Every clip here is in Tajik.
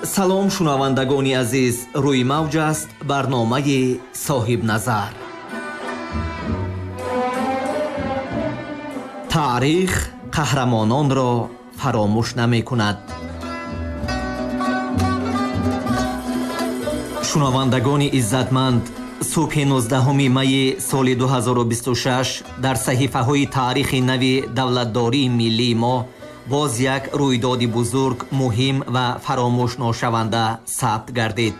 Салом, шунавандагони азиз, рӯи мавҷ аст барномаи Соҳибназар. Таърих қаҳрамононро фаромӯш намекунад. Шунавандагони иззатманд, субҳи 19 майи соли 2026 дар саҳифаҳои таърихи нави давлатдории миллии мо боз як рӯйдоди бузург, муҳим ва фаромӯшношаванда сабт гардид.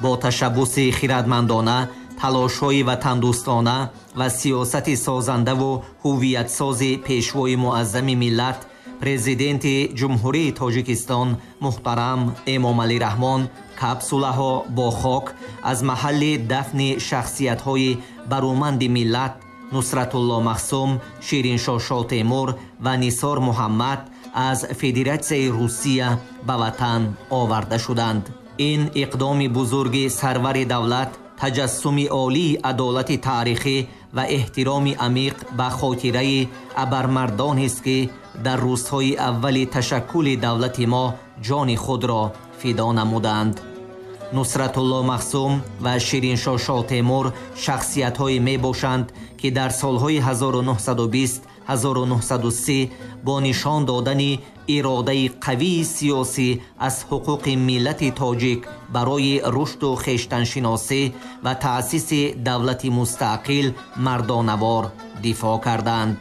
Бо ташаббуси хирадмандона, талошҳои ватандӯстона ва сиёсати созандаву ҳуввиятсози пешвои муаззами миллат, президенти Ҷумҳурии Тоҷикистон муҳтарам Эмомалӣ Раҳмон, капсулаҳо бо хок аз маҳалли дафни шахсиятҳои баруманди миллат Нусратулло Махсум, Шириншоҳ Шотемур ва Нисор Муҳаммад аз Федератсияи Русия ба ватан оварда шуданд. Ин иқдоми бузурги сарвари давлат таҷассуми олии адолати таърихӣ ва эҳтироми амиқ ба хотираи абармардонест, ки дар рӯзҳои аввали ташаккули давлати мо ҷони худро фидо намуданд. Нусратулло Махсум ва Шириншоҳ Шотемур шахсиятҳое мебошанд, ки дар солҳои 1920-1930 бо нишон додани иродаи қавии сиёсӣ аз ҳуқуқи миллати тоҷик барои рушду хештаншиносӣ ва таъсиси давлати мустақил мардонавор дифоъ карданд.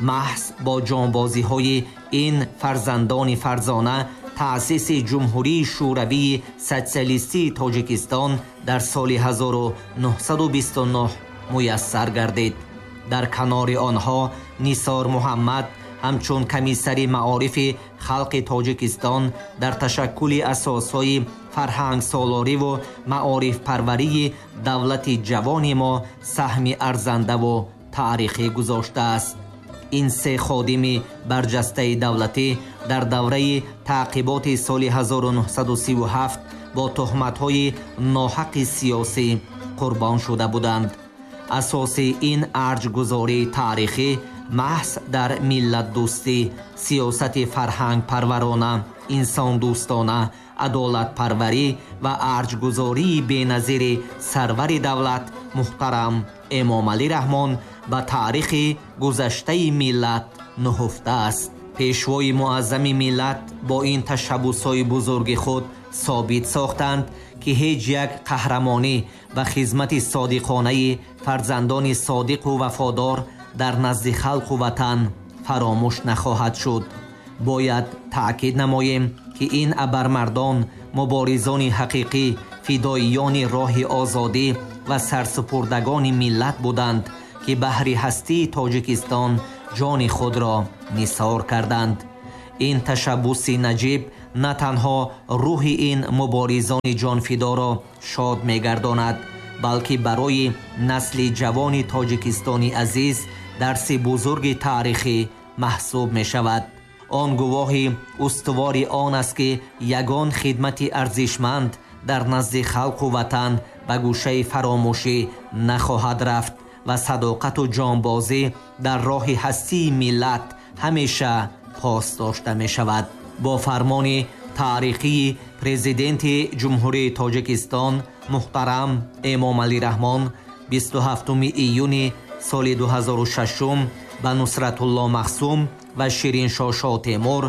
Маҳз бо ҷонбозиҳои ин фарзандони фарзона таъсиси Ҷумҳурии Шӯравии Социалистии Тоҷикистон дар соли 1929 муяссар гардид. Дар канори онҳо Нисор Муҳаммад ҳамчун комиссари маорифи халқи Тоҷикистон дар ташаккули асосҳои фарҳангсолориву маорифпарварии давлати ҷавони мо саҳми арзандаву таърихӣ гузоштааст. Ин се ходими барҷастаи давлатӣ дар давраи таъқиботи соли 1937 бо туҳматҳои ноҳақи сиёсӣ қурбон шуда буданд. Асоси ин арҷгузории таърихӣ маҳз дар миллатдӯстӣ, сиёсати фарҳангпарварона, инсондӯстона, адолатпарварӣ ва арҷгузории беназири сарвари давлат муҳтарам Эмомалӣ Раҳмон ба таърихи гузаштаи миллат нуҳуфта аст. Пешвои муаззами миллат бо ин ташаббусҳои бузурги худ собит сохтанд, ки ҳеҷ як қаҳрамонӣ ва хизмати содиқонаи фарзандони содиқу вафодор дар назди халқу ватан фаромӯш нахоҳад шуд. Бояд таъкид намоем, ки ин абармардон муборизони ҳақиқӣ, фидоиёни роҳи озодӣ ва сарсупурдагони миллат буданд, ки баҳри ҳастии Тоҷикистон ҷони худро нисор карданд. Ин ташаббуси наҷиб на танҳо рӯҳи ин муборизони ҷонфидоро шод мегардонад, балки барои насли ҷавони тоҷикистони азиз дарси бузурги таърихӣ маҳсуб мешавад. Он гувоҳи устувори он аст, ки ягон хидмати арзишманд дар назди халқу ватан ба гӯшаи фаромӯшӣ нахоҳад рафт ва садоқату ҷонбозӣ дар роҳи ҳастии миллат ҳамеша пос дошта мешавад. Бо фармони таърихии президенти Ҷумҳурии Тоҷикистон муҳтарам Эмомалӣ Раҳмон 27 июни соли 2006 ба Нусратулло Махсум ва Шириншоҳ Шотемур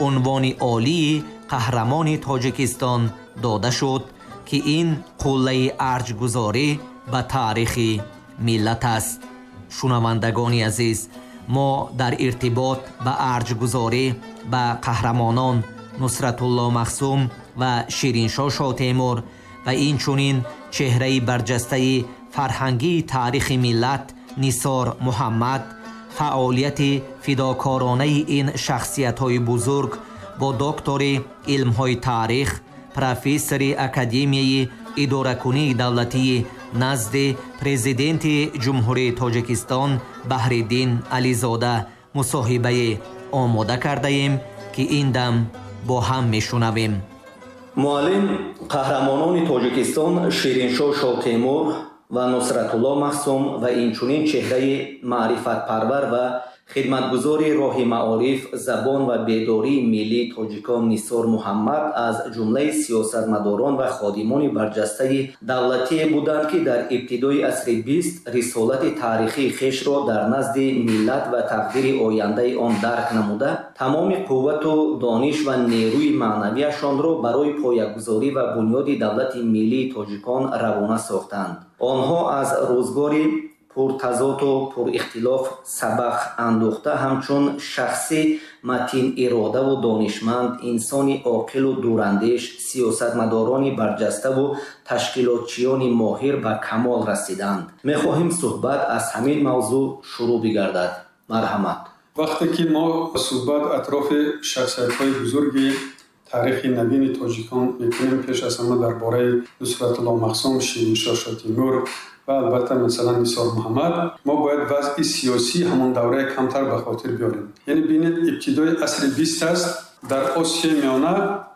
унвони олии қаҳрамони Тоҷикистон дода шуд, ки ин қуллаи арҷгузорӣ ба таърихи миллат аст. Шунавандагони азиз, мо дар иртибот ба арҷгузорӣ ба қаҳрамонон Нусратулло Махсум ва Шириншоҳ Шотемур ва инчунин чеҳраи барҷастаи фарҳангии таърихи миллат Нисор Муҳаммад, фаъолияти фидокоронаи ин шахсиятҳои бузург бо доктори илмҳои таърих, профессори Академияи идоракунии давлатии назди президенти Ҷумҳурии Тоҷикистон Баҳриддин Ализода мусоҳибае омода кардаем, ки ин дам бо ҳам мешунавем. Муаллим, қаҳрамонони Тоҷикистон Шириншоҳ Шотемур ва Нусратулло Махсум ва инчунин чеҳраи маърифатпарвар ва Хидматгузори роҳи маориф, забон ва бедории миллии тоҷикон Нисор Муҳаммад аз ҷумлаи сиёсатмадорон ва ходимони барҷастаи давлатие буданд, ки дар ибтидои асри бист рисолати таърихии хешро дар назди миллат ва тақдири ояндаи он дарк намуда, тамоми қуввату дониш ва нерӯи маънавияшонро барои поягузорӣ ва бунёди давлати миллии тоҷикон равона сохтанд. Онҳо аз рӯзгори пуртазоду пурихтилоф сабақ андӯхта, ҳамчун шахси матин-иродаву донишманд, инсони оқилу дурандеш, сиёсатмадорони барҷаставу ташкилотчиёни моҳир ба камол расиданд. Мехоҳем суҳбат аз ҳамин мавзӯъ шурӯъ бигардад. Марҳамат. Вақте ки мо суҳбат атрофи шахсиятҳои бузурги таърихи навини тоҷикон мекунем, пеш аз ҳама дар бораи Нусратулло Махсум, Шириншоҳ Шотимур ва албатта масалан Нисор Муҳаммад, мо бояд вазъи сиёсии ҳамон давраи камтар ба хотир биёрем. Яъне бинед, ибтидои асри бист аст, дар Осиёи Миёна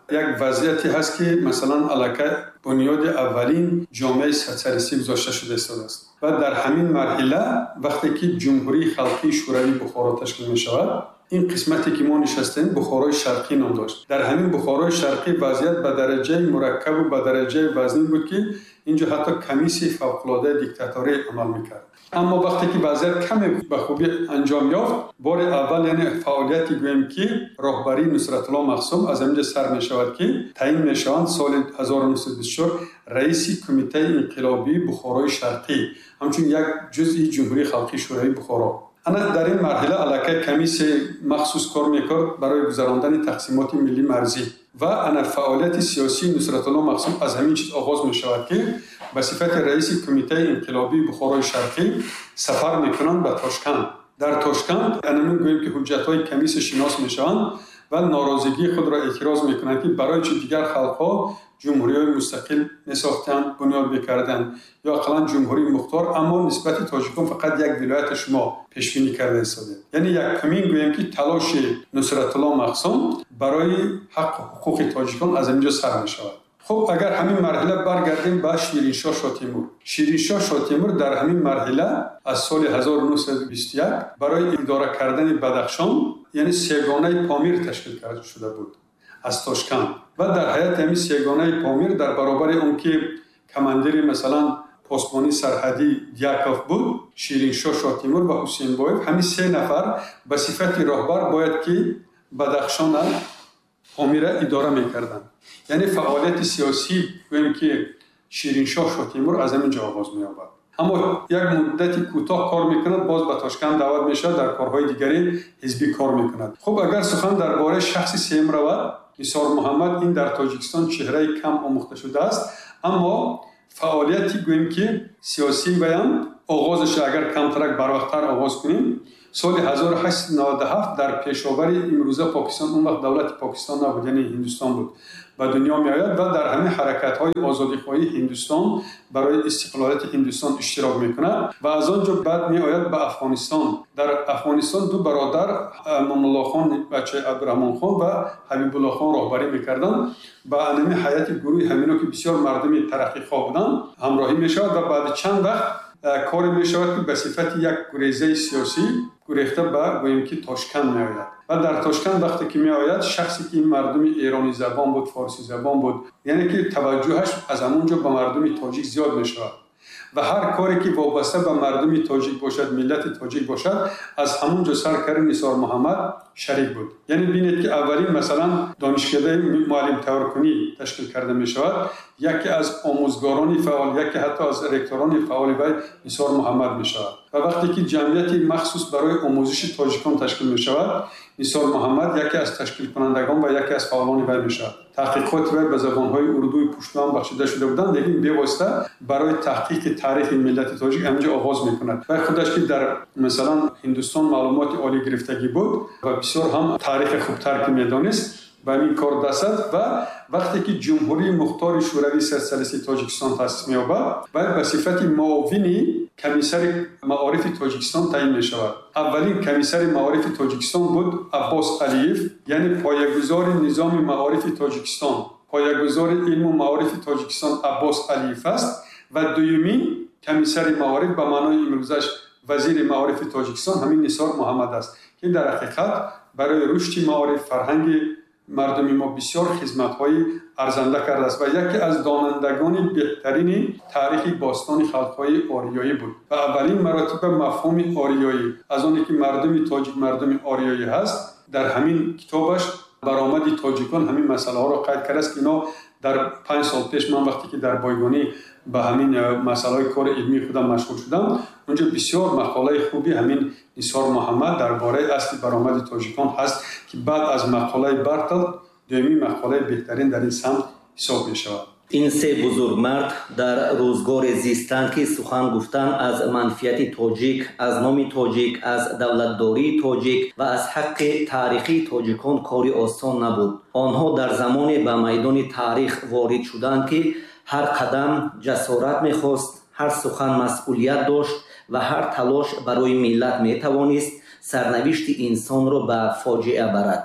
як вазъияте ҳаст, ки масалан аллакай бунёди аввалин ҷомеаи социалистӣ гузошта шуда истодааст. Ва дар ҳамин марҳила вақте ки Ҷумҳурии Халқии Шӯравии Бухоро ташкил мешавад, ин қисмате ки мо нишастем Бухорои Шарқӣ ном дошт. Дар ҳамин Бухорои Шарқӣ вазъият ба дараҷаи мураккабу ба дараҷаи вазнин буд, ки инҷо ҳатто комиссияи фавқулодаи диктаторӣ амал мекард. Аммо вақте ки вазъият каме ба хубӣ анҷом ёфт, бори аввал яъне фаъолияти гӯем ки роҳбарии Нусратулло Махсум аз ҳаминҷо сар мешавад, ки таъин мешаванд соли 1924 раиси Кумитаи инқилобии Бухорои Шарқӣ, ҳамчун як ҷузъи Ҷумҳурии Халқии Шӯравии Бухоро. Ана дар ин марҳила аллакай комиссияи махсус кор мекард барои гузарондани тақсимоти миллии марзӣ ва ана фаъолияти сиёсии Нусратулло Махсум аз ҳамин чиз оғоз мешавад, ки ба сифати раиси Кумитаи инқилобии Бухорои Шарқӣ сафар мекунанд ба Тошканд. Дар Тошканд анамин гӯем ки ҳуҷҷатҳои комиссия шинос мешаванд ва норозигии худро эътироз мекунанд, ки барои чи дигар халқҳо ҷумҳуриҳои мустақил месохтанд, бунёд мекарданд ё ақаллан ҷумҳурии мухтор, аммо нисбати тоҷикон фақат як вилояти шумо пешбинӣ карда истодед. Яъне якумин гӯем ки талоши Нусратулло Махсум барои ҳаққу ҳуқуқи тоҷикон аз ҳаминҷо сар мешавад. Хуб, агар ҳамин марҳила баргардем ба Шириншоҳ Шотимур. Шириншоҳ Шотимур дар ҳамин марҳила аз соли 1921 барои идора кардани Бадахшон, яъне сегонаи Помир ташкил карда шуда буд аз Тошканд. Ва дар ҳайати ҳамин сегонаи Помир дар баробари он ки командири масалан посбони сарҳадӣ Дьяков буд, Шириншоҳ Шотимур ва Ҳусейнбоев, ҳамин се нафар ба сифати роҳбар бояд ки Бадахшона Помира идора мекарданд. Яъне фаъолияти сиёсӣ гӯем ки Шириншоҳ Шотимур аз ҳамин ҷо оғоз меёбад. Аммо як муддати кӯтоҳ кор мекунад, боз ба Тошканд даъват мешавад, дар корҳои дигари ҳизбӣ кор мекунад. Хуб, агар сухан дар бораи шахси сеюм равад, Нисор Муҳаммад ин дар Тоҷикистон чеҳраи кам омӯхта шудааст, аммо фаъолияти гӯем ки сиёсии ваям оғозаш агар камтарак барвақттар оғоз кунем, соли 1897 дар пешовари имрӯза Покистон, он вақт давлати Покистон набуд, яъне Ҳиндустон буд, ба дунё меояд ва дар ҳамин ҳаракатҳои озодихоҳии Ҳиндустон барои истиқлолияти Ҳиндустон иштирок мекунад ва аз он ҷо баъд меояд ба Афғонистон. Дар Афғонистон ду бародар Амонуллохон бачаи Абдураҳмонхон ва Ҳабибуллохон роҳбарӣ мекарданд. Ба ҳамин ҳайати гурӯҳи ҳамино ки бисёр мардуми тараққихоҳ буданд ҳамроҳӣ мешавад ва баъди чанд вақт коре мешавад ки ба сифати як гурезаи сиёсӣ гурехта ба гӯем ки Тошканд меояд. Ва дар Тошканд вақте ки меояд, шахсе ки ин мардуми эронӣ забон буд, форсӣ забон буд, яъне ки таваҷҷӯҳаш аз ҳамон ҷо ба мардуми тоҷик зиёд мешавад ва ҳар коре ки вобаста ба мардуми тоҷик бошад, миллати тоҷик бошад, аз ҳамон ҷо сар карди Нисор Муҳаммад шарик буд. Яъне бинед ки аввалин масалан донишкадаи муаллимтайёркунӣ ташкил карда мешавад, яке аз омӯзгорони фаъол, яке ҳатто аз ректорони фаъоли вай Нисор Муҳаммад мешавад. Ва вақте ки ҷамъияти махсус барои омӯзиши тоҷикон ташкил мешавад, Нисор Муҳаммад яке аз ташкилкунандагон ва яке аз фаъолони вай мешавад. Таҳқиқоти вай ба забонҳои урдую пушту ҳам бахшида шуда буданд, лекин бевосита барои таҳқиқи таърихи миллати тоҷик ҳаминҷо оғоз мекунад. Вай худаш ки дар масалан Ҳиндустон маълумоти олӣ гирифтагӣ буд ва бисёр ҳам таърихи хубтар ки медонист, ба ҳамин кор даст зад ва вақте ки Ҷумҳурии Мухтори Шӯравии Социалистии Тоҷикистон таъсис меёбад, вай ба сифати муовини комиссари маорифи Тоҷикистон таъин мешавад. Аввалин комиссари маорифи Тоҷикистон буд Аббос Алиев, яъне поягузори низоми маорифи Тоҷикистон, поягузори илму маорифи Тоҷикистон Аббос Алиев аст ва дуюмин комиссари маориф ба маънои имрӯзаш Вазири маорифи Тоҷикистон ҳамин Нисор Муҳаммад аст, ки дар ҳақиқат барои рушди маориф, фарҳанги мардуми мо бисёр хизматҳои арзанда кардааст ва яке аз донандагони беҳтарини таърихи бостони халқҳои ориёӣ буд ва аввалин маротиба мафҳуми ориёӣ, аз оне ки мардуми тоҷик мардуми ориёӣ ҳаст, дар ҳамин китобаш баромади тоҷикон ҳамин масъалаҳоро қайд кардааст, ки ино дар 5 сол пеш ман вақте ки дар бойгонӣ ба ҳамин масъалаҳои кори илмии худам машғул шудам, унҷо бисёр мақолаи хуби ҳамин Нисор Муҳаммад дар бораи асли баромади тоҷикон ҳаст, ки баъд аз мақолаи Бартолд дуюмин мақолаи беҳтарин дар ин самт ҳисоб мешавад. Ин се бузургмард дар рӯзгоре зистанд, ки сухан гуфтан аз манфиати тоҷик, аз номи тоҷик, аз давлатдории тоҷик ва аз ҳаққи таърихии тоҷикон кори осон набуд. Онҳо дар замоне ба майдони таърих ворид шуданд, ки ҳар қадам ҷасорат мехост, ҳар сухан масъулият дошт ва ҳар талош барои миллат метавонист сарнавишти инсонро ба фоҷиа барад.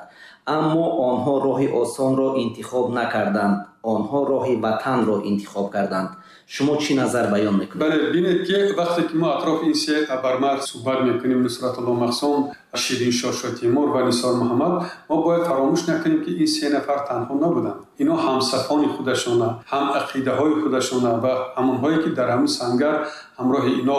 Аммо онҳо роҳи осонро интихоб накарданд. Онҳо роҳи ватанро интихоб карданд. Шумо чӣ назар баён мекунед? Бале, бинед, ки вақте ки мо атрофи ин се абармард суҳбат мекунем, Нусратулло Махсум, Шириншоҳ Шотимур ва Нисор Муҳаммад, мо бояд фаромӯш накунем, ки ин се нафар танҳо набуданд. Ино ҳамсафони худашона, ҳам ақидаҳои худашона ва ҳамонҳое ки дар ҳамин сангар ҳамроҳи ино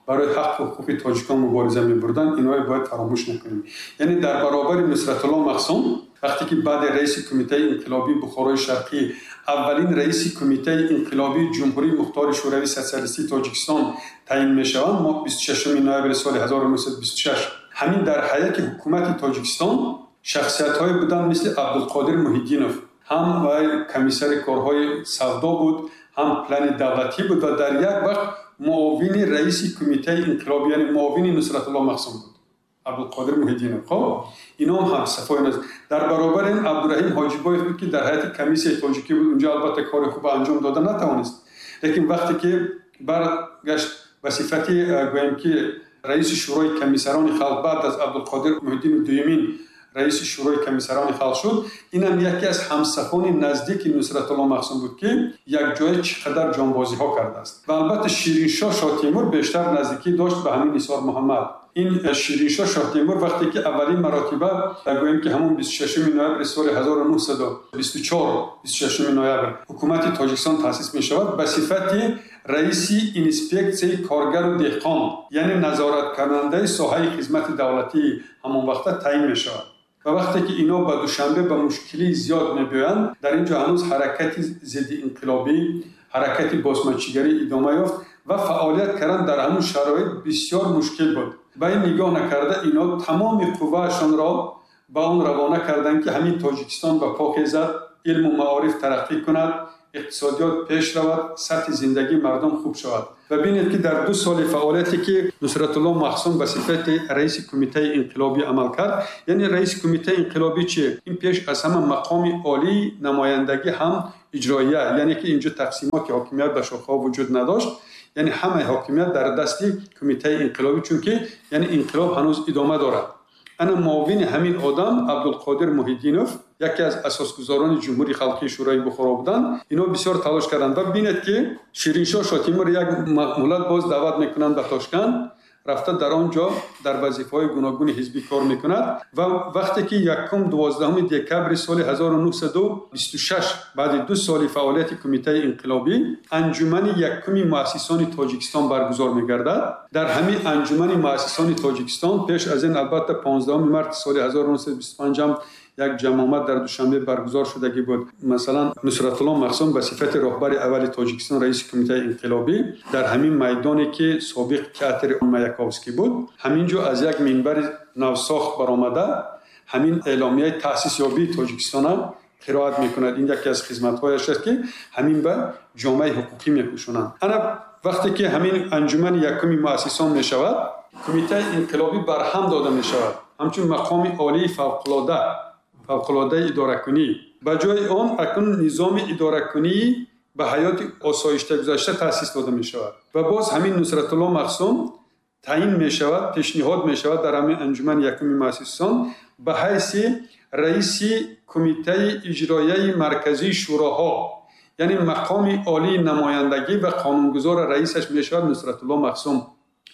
барои ҳаққу ҳуқуқи тоҷикон мубориза мебурданд, иноро бояд фаромӯш накунем. Яъне дар баробари Нусратулло Махсум, вақте ки баъди раиси Кумитаи инқилобии Бухорои Шарқӣ, аввалин раиси Кумитаи инқилобии Ҷумҳурии Мухтори Шӯравии Сотсиалистии Тоҷикистон таъин мешаванд, мо 26 ноябри соли 1926, ҳамин дар ҳайати ҳукумати Тоҷикистон шахсиятҳое буданд мисли Абдулқодир Муҳиддинов, ҳам вай комиссари корҳои савдо буд, ҳам плани давлатӣ буд ва дар як вақт муовини раиси Кумитаи инқилобӣ, яъне муовини Нусратулло Махсум буд Абдулқодир Муҳиддинов. Хоб, ином ҳамсафои нас. Дар баробари ин Абдураҳим Ҳоҷибоев буд, ки дар ҳайати комиссияи тоҷикӣ буд. Унҷо албатта кори хуб анҷом дода натавонист, лекин вақте ки баргашт ба сифати, гӯем ки, раиси Шӯрои комиссарони халқ, баъд аз Абдулқодир Муҳиддинов дуюмин раиси Шӯрои комиссарони халқ шуд. Инам яке аз ҳамсафони наздики Нусратулло Махсум буд, ки якҷоя чӣ қадар ҷонбозиҳо кардааст. Ва албатта Шириншоҳ Шоҳтемур бештар наздикӣ дошт ба ҳамин Нисор Муҳаммад. Ин Шириншоҳ Шоҳтемур вақте ки аввалин маротиба, гӯем ки, ҳамон 26 ноябри соли 1924, 26 ноябр ҳукумати Тоҷикистон таъсис мешавад, ба сифати раиси инспексияи коргару деҳқон, яъне назораткунандаи соҳаи хизмати давлатии ҳамон вақта таъин мешавад. Ва вақте ки ино ба Душанбе ба мушкилии зиёд мебиёянд, дар ин ҷо ҳанӯз ҳаракати зиддиинқилобӣ, ҳаракати босмачигарӣ идома ёфт ва фаъолият кардан дар ҳамон шароит бисёр мушкил буд. Ба ин нигоҳ накарда, ино тамоми қувваашонро ба он равона карданд, ки ҳамин Тоҷикистон ба по хезад, илму маориф тараққӣ кунад, иқтисодиёт пеш равад, сатҳи зиндагии мардум хуб шавад. Ва бинед, ки дар 2 соли фаъолияте ки Нусратулло Махсум ба сифати раиси Кумитаи инқилобӣ амал кард, яъне раиси Кумитаи инқилобӣ чи? Ин пеш аз ҳама мақоми олии намояндагӣ ҳам иҷроия, яъне ки инҷо тақсимоти ҳокимият ба шохаҳо вуҷуд надошт, яъне ҳамаи ҳокимият дар дасти Кумитаи инқилобӣ, чунки яъне инқилоб ҳанӯз идома дорад. Ана муовини ҳамин одам Абдулқодир Муҳиддинов, яке аз асосгузорони Ҷумҳурии Халқии Шӯрои Бухоро буданд. Ино бисёр талош карданд ва бинед, ки Шириншоҳ Шотимур як муҳлат боз даъват мекунанд ба Тошканд, рафта дар он ҷо дар вазифаҳои гуногуни ҳизбӣ кор мекунад. Ва вақте ки 1-12 декабри соли 1926, баъди 2 соли фаъолияти Кумитаи инқилобӣ, анҷумани якуми муассисони Тоҷикистон баргузор мегардад, дар ҳамин анҷумани муассисони Тоҷикистон пеш аз ин албатта 15 марти соли 1925 ҳам як ҷамъомад дар Душанбе баргузор шудагӣ буд. Масалан, Нусратулло Махсум ба сифати роҳбари аввали Тоҷикистон, раиси Кумитаи инқилобӣ, дар ҳамин майдоне ки собиқ театри Маяковский буд, ҳамин ҷо аз як минбари навсохт баромада ҳамин эъломияи таъсисёбии Тоҷикистона қироат мекунад. Ин яке аз хизматҳояш аст, ки ҳамин ба ҷомеаи ҳуқуқӣ мепӯшонанд. Ана вақте ки ҳамин анҷумани якуми муассисон мешавад, Кумитаи инқилобӣ барҳам дода мешавад ҳамчун мақоми олии фавқулодаи идоракунӣ. Ба ҷои он акнун низоми идоракунии ба ҳаёти осоишта гузашта таъсис дода мешавад. Ва боз ҳамин Нусратулло Махсум таъин мешавад, пешниҳод мешавад дар ҳамин анҷумани якуми муассисон ба ҳайси раиси Кумитаи иҷроияи марказии шӯроҳо, яъне мақоми олии намояндагӣ ва қонунгузор, раисаш мешавад Нусратулло Махсум.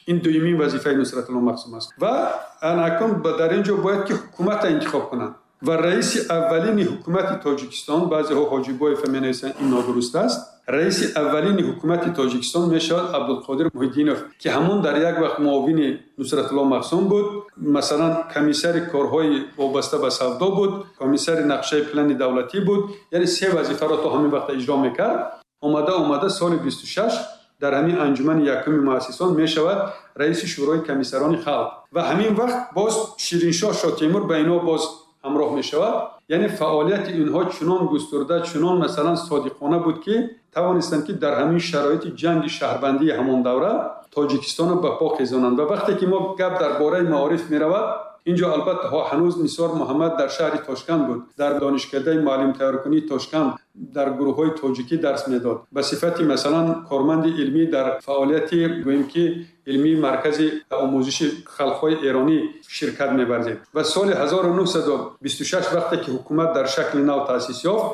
Ин дуюмин вазифаи Нусратулло Махсум аст. Ва акнун дар ин ҷо бояд ки ҳукуматро интихоб кунанд. Ва раиси аввалини ҳукумати Тоҷикистон, баъзеҳо Ҳоҷибоев менависанд, ин нодуруст аст. Раиси аввалини ҳукумати Тоҷикистон мешавад Абдулқодир Муҳиддинов, ки ҳамон дар як вақт муовини Нусратулло Махсум буд, масалан комиссари корҳои вобаста ба савдо буд, комиссари нақшаи плани давлатӣ буд, яъне се вазифаро то ҳамин вақт иҷро мекард. Омада соли 26 дар ҳамин анҷумани якуми муассисон мешавад раиси шӯрои комиссарони халқ. Ва ҳамин вақт боз Шириншоҳ Шотемур ба инҳо боз ҳамроҳ мешавад. Яъне фаъолияти инҳо чунон густурда, чунон масалан содиқона буд, ки тавонистанд, ки дар ҳамин шароити ҷанги шаҳрвандии ҳамон давра Тоҷикистонро ба по хезонанд. Ва вақте ки мо гап дар бораи маориф меравад, инҷо албатта ҳанӯз Нисор Муҳаммад дар шаҳри Тошканд буд, дар донишкадаи муаллимтайёркунии Тошканд дар гурӯҳҳои тоҷикӣ дарс медод. Ба сифати масалан корманди илмӣ дар фаъолияти гӯем ки илмии маркази омӯзиши халқҳои эронӣ ширкат меварзид. Ва соли 1926 вақте ки ҳукумат дар шакли нав таъсис ёфт,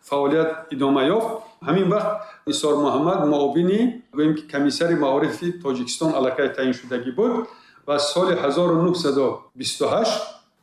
фаъолият идома ёфт. Ҳамин вақт Нисор Муҳаммад муовини гӯем ки комиссари маорифи Тоҷикистон аллакай таъин шудагӣ буд. Ва соли 1928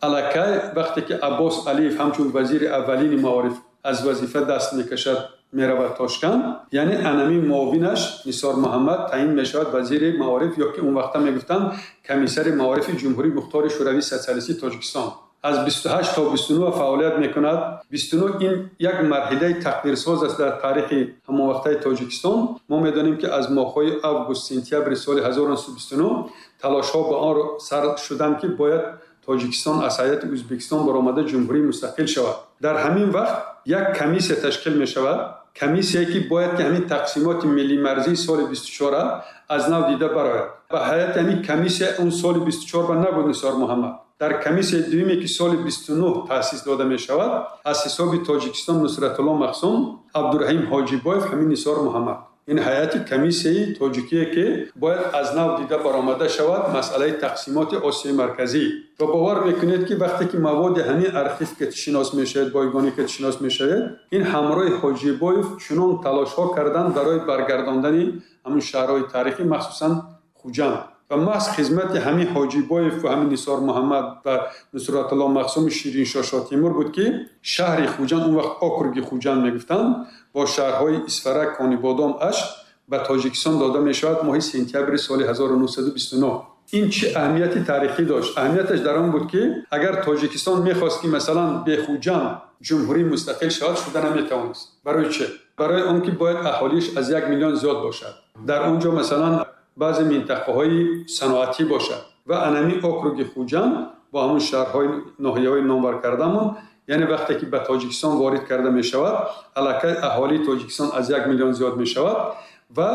аллакай вақте ки Аббос Алиев ҳамчун вазири аввалини маориф аз вазифа даст мекашад, меравад Тошканд, яъне анамин муовинаш Нисор Муҳаммад таъин мешавад вазири маориф, ё ки он вақта мегуфтанд комиссари маорифи Ҷумҳурии Мухтори Шӯравии Социалистии Тоҷикистон. Аз 28 то 29 фаъолият мекунад. 29 ин як марҳилаи тақдирсоз аст дар таърихи ҳамонвақтаи Тоҷикистон. Мо медонем, ки аз моҳҳои август сентябри соли 1929 талошҳо ба он сар шуданд, ки бояд Тоҷикистон аз ҳайати Ӯзбекистон баромада ҷумҳурии мустақил шавад. Дар ҳамин вақт як комиссия ташкил мешавад, комиссияе ки бояд ки ҳамин тақсимоти миллимарзии соли 24 аз нав дида барояд. Ба ҳайати ҳамин комиссия он соли 24 ба набуд Нисор Муҳаммад. Дар комиссияи дуюме ки соли 29 таъсис дода мешавад, аз ҳисоби Тоҷикистон Нусратулло Махсум, Абдураҳим Ҳоҷибоев, ҳамин Нисор Муҳаммад. Ин ҳайати комиссияи тоҷикие ки бояд аз нав дида баромада шавад масъалаи тақсимоти Осиёи Марказӣ. Ва бовар мекунед, ки вақте ки маводи ҳамин архив ки шинос мешавед, бойгонӣ ки шинос мешавед, ин ҳамроҳи Ҳоҷибоев чунон талошҳо карданд барои баргардондани ҳамин шаҳрҳои таърихӣ, махсусан Хуҷанд. Ва маҳз хизмати ҳамин Ҳоҷибоев ва ҳамин Нисор Муҳаммад ва Нусратулло Махсуми Шириншоҳ Шотемур буд, ки шаҳри Хуҷанд, он вақт округи Хуҷанд мегуфтанд, бо шаҳрҳои Исфара, Конибодом, Ашт ба Тоҷикистон дода мешавад моҳи сентябри соли 1929. Ин чӣ аҳамияти таърихӣ дошт? Аҳамияташ дар он буд, ки агар Тоҷикистон мехост, ки масалан бе Хуҷанд ҷумҳурии мустақил шавад, шуда наметавонист. Барои чӣ? Барои он ки бояд аҳолиаш аз 1 миллион зиёд бошад. Дар он ҷо масалан баъзе минтақаҳои саноатӣ бошад. Ва анами округи Хуҷанд бо ҳамон шаҳрҳои ноҳияҳои номбар кардамон, яъне вақте ки ба Тоҷикистон ворид карда мешавад, аллакай аҳолии Тоҷикистон аз 1 миллион зиёд мешавад ва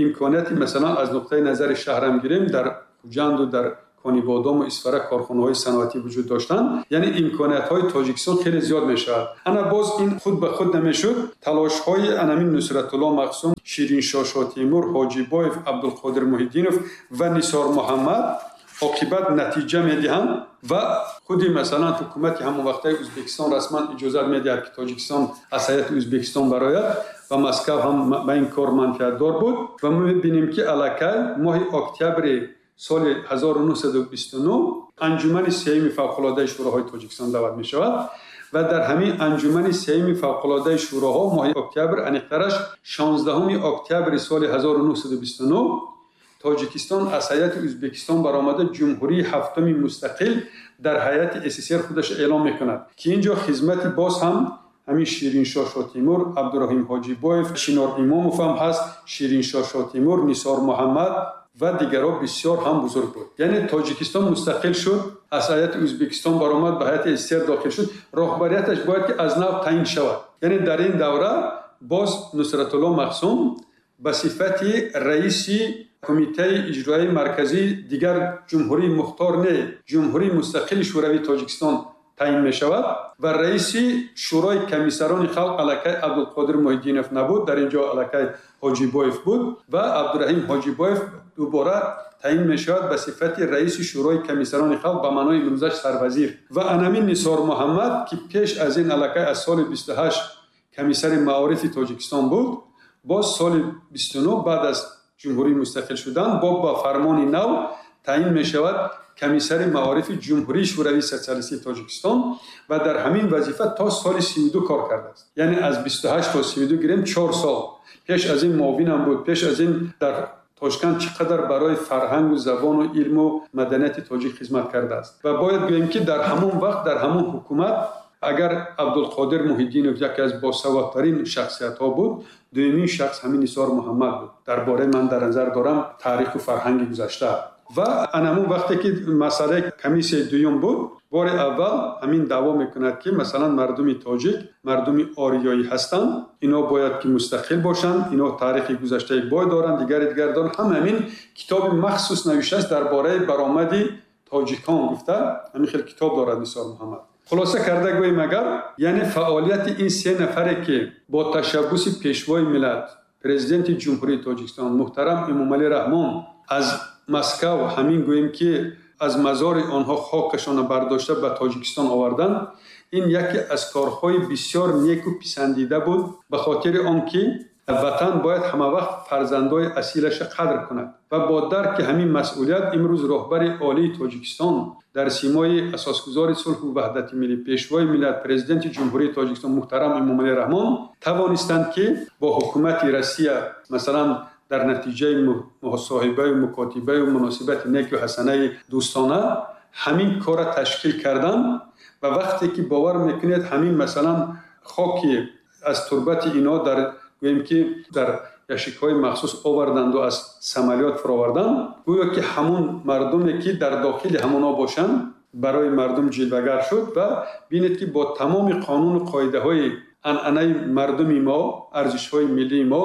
имконияти масалан аз нуқтаи назари шаҳрам гирем, дар Хуҷанду дар Конибодому Исфара корхонаҳои саноатӣ вуҷуд доштанд, яъне имкониятҳои Тоҷикистон хеле зиёд мешавад. Ана боз ин худ ба худ намешуд. Талошҳои анамин Нусратулло Махсум, Шириншоҳ Шотемур, Ҳоҷибоев, Абдулқодир Муҳиддинов ва Нисор Муҳаммад оқибат натиҷа медиҳанд ва худи масалан ҳукумати ҳамон вақтаи Ӯзбекистон расман иҷозат медиҳад, ки Тоҷикистон аз ҳайати Ӯзбекистон барояд ва Москав ҳам ба ин кор манфиатдор буд. Ва мо мебинем, ки аллакай моҳи октябри соли 1929 анҷумани сеюми фавқулодаи шӯроҳои Тоҷикистон даъват мешавад ва дар ҳамин анҷумани сеюми фавқулодаи шӯроҳо моҳи октябр, аниқтараш 16 октябри соли 1929 Тоҷикистон аз ҳайати Ӯзбекистон баромада ҷумҳурии ҳафтуми мустақил дар ҳайати СССР худаш эълон мекунад, ки ин ҷо хизмати боз ҳам ҳамин Шириншоҳ Шотемур, Абдураҳим Ҳоҷибоев, Чинор Имомов ҳам ҳаст, Шириншоҳ Шотемур, Нисор Муҳаммад ва дигарҳо бисёр ҳам бузург буд. Яъне Тоҷикистон мустақил шуд, аз ҳайати Ӯзбекистон баромад, ба ҳайати СССР дохил шуд, роҳбарияташ бояд ки аз нав таъин шавад. Яъне дар ин давра боз Нусратулло Махсум ба сифати раиси кумитаи иҷроияи марказии дигар ҷумҳурии мухтор не, ҷумҳурии мустақили Шӯравии Тоҷикистон таъин мешавад ва раиси шӯрои комиссарони халқ аллакай Абдулқодир Муҳиддинов набуд, дар ин ҷо аллакай Ҳоҷибоев буд ва Абдураҳим Ҳоҷибоев дубора таъин мешавад ба сифати раиси шӯрои комиссарони халқ, ба маънои имрӯзаш сарвазир. Ва анамин Нисор Муҳаммад, ки пеш аз ин аллакай аз соли 28 комиссари маорифи Тоҷикистон буд, боз соли 29 баъд аз Ҷумҳурӣ мустақил шуданд, бо ба фармони нав таъин мешавад комиссари маорифи Ҷумҳурии Шӯравии Социалистии Тоҷикистон ва дар ҳамин вазифа то соли 32 кор кардааст. Яъне аз 28 то 32 гирем, 4 сол. Пеш аз ин муовинам буд, пеш аз ин дар Тошканд чӣ қадар барои фарҳангу забону илму маданияти тоҷик хизмат кардааст. Ва бояд гӯем, ки дар ҳамон вақт, дар ҳамон ҳукумат, агар Абдулқодир Муҳиддинов яке аз босаводтарин шахсиятҳо буд, дуюмин шахс ҳамин Нисор Муҳаммад буд. Дар бораи ман дар назар дорам таъриху фарҳанги гузашта. Ва ан ҳамун вақте ки масъалаи комиссияи дуюм буд, бори аввал ҳамин даъво мекунад, ки масалан мардуми тоҷик мардуми ориёӣ ҳастанд, ино бояд ки мустақил бошанд, ино таърихи гузаштаи бой доранд, дигари дигар доранд. Ҳама ҳамин китоби махсус навиштааст дар бораи баромади тоҷикон гуфта, ҳамин хел китоб дорад Нисор Муҳаммад. Хулоса карда гӯем агар, яъне фаъолияти ин се нафаре, ки бо ташаббуси Пешвои миллат, Президенти Ҷумҳурии Тоҷикистон муҳтарам Эмомалӣ Раҳмон аз Москав ҳамин гӯем, ки аз мазори онҳо хокашонро бардошта ба Тоҷикистон оварданд, ин яке аз корҳои бисёр неку писандида буд, ба хотири он ки ватан бояд ҳамавақт фарзандои асилаша қадр кунад. Ва бо дарки ҳамин масъулият имрӯз роҳбари олии Тоҷикистон дар симои асосгузори сулҳу ваҳдати миллӣ, Пешвои миллат, Президенти Ҷумҳурии Тоҷикистон муҳтарам Эмомалӣ Раҳмон тавонистанд, ки бо ҳукумати Россия масалан дар натиҷаи мусоҳибаю мукотибаю муносибати неку ҳасанаи дӯстона ҳамин корра ташкил карданд. Ва вақте ки бовар мекунед, ҳамин масалан хоки аз турбати ино дар гӯем ки дар яшикҳои махсус оварданду аз самолёт фуроварданд, гӯё ки ҳамун мардуме, ки дар дохили ҳамонҳо бошанд, барои мардум ҷилвагар шуд. Ва бинед, ки бо тамоми қонуну қоидаҳои анъанаи мардуми мо, арзишҳои миллии мо,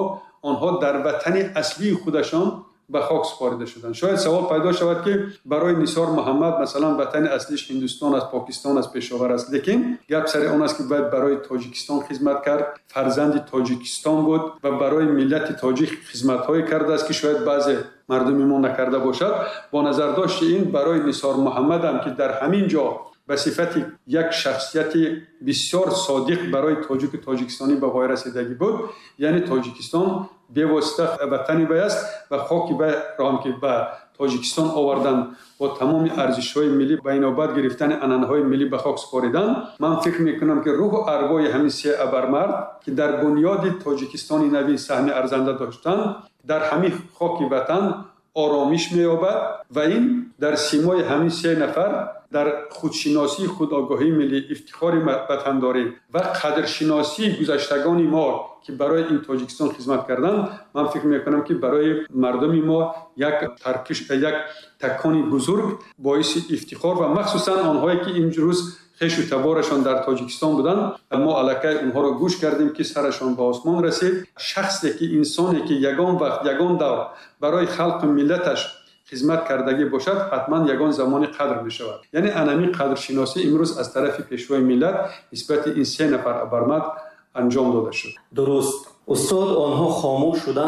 онҳо дар ватани аслии худашон ба хок супорида шуданд. Шояд савол пайдо шавад, ки барои Нисор Муҳаммад масалан ватани аслиш Ҳиндустон аст, Покистон аст, Пешовар аст, лекин гап сари он аст, ки бояд барои Тоҷикистон хизмат кард. Фарзанди Тоҷикистон буд ва барои миллати тоҷик хизматҳое кардааст, ки шояд баъзе мардуми мо накарда бошад. Бо назардошти ин барои Нисор Муҳаммадам, ки дар ҳамин ҷо ба сифати як шахсияти бисёр содиқ барои тоҷику тоҷикистонӣ ба воя расидагӣ буд, яъне Тоҷикистон бевосита ватани вай аст ва хоки вайро ҳам ки ба Тоҷикистон овардан, бо тамоми арзишҳои миллӣ, ба инобат гирифтани анъанаҳои миллӣ ба хок супоридан, ман фикр мекунам, ки рӯҳу арвои ҳамин се абармард, ки дар бунёди Тоҷикистони навин саҳми арзанда доштанд, дар ҳамин хоки ватан оромиш меёбад. Ва ин дар симои ҳамин се нафар дар худшиносии, худогоҳии миллӣ, ифтихори ватандорӣ ва қадршиносии гузаштагони мо, ки барои ин Тоҷикистон хизмат карданд, ман фикр мекунам, ки барои мардуми мо як таркиш, як такони бузург, боиси ифтихор ва махсусан онҳое, ки имрӯз хешу таборашон дар Тоҷикистон буданд, мо аллакай онҳоро гӯш кардем, ки сарашон ба осмон расид. Шахсе ки, инсоне ки ягон вақт, ягон давр барои халқу миллаташ хизмат кардагӣ бошад, ҳатман ягон замоне қадр мешавад. Яъне анамин қадршиносӣ имрӯз аз тарафи Пешвои миллат нисбати ин се нафар абармард анҷом дода шуд. Дуруст, устод, онҳо хомӯш шуданд.